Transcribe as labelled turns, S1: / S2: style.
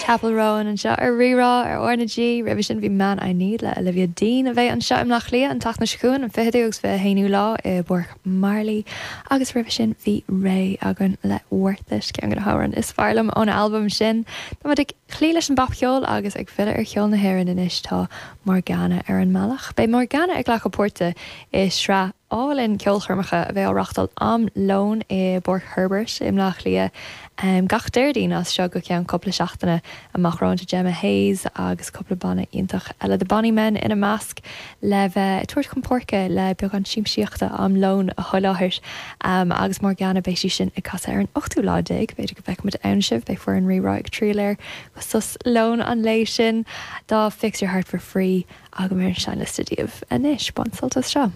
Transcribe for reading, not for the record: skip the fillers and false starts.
S1: Chappell Roan anseo ar Rí-Rá ar R na G. Roimhe sin bhí Man I Need le Olivia Dean a bheidh anseo i mBleá Cliath an tseachtain seo chugainn, an 20ú agus 21ú lá i bPáirc Marley. Agus roimhe sin bhí Raye againn le Worth It, ceann de na hamhráin is fearr liom ón albam sin. Tá muid ag cloí leis an bpopcheol agus ag filleadh ar cheol na hÉireann anois tá Morgana ar an mbealach. Beidh Morgana ag glacadh páirte i sraith álainn ceolchoirmeacha a bheidh á reáchtáil am lóin i bPáirc Herbert i mBleá Cliath gach Déardaoin as seo go ceann cúpla seachtaine amach romhainn. Tá Gemma Hayes agus cúpla banna iontach eile, The Bonny Men ina measc, le bheith ag tabhairt chun páirce le beagán siamsaíochta am lóin a sholáthar. Agus Morgana, beidh sí sin ag casadh ar an ochtú lá déag, b'fhéidir go bhfeicfimid ann sibh, beidh foireann Rí-Rá ag triall air go sos lóin an lae sin. Tá Fix Your Heart for Free agam ar an seinnliosta daoibh anois. Bain sult as seo.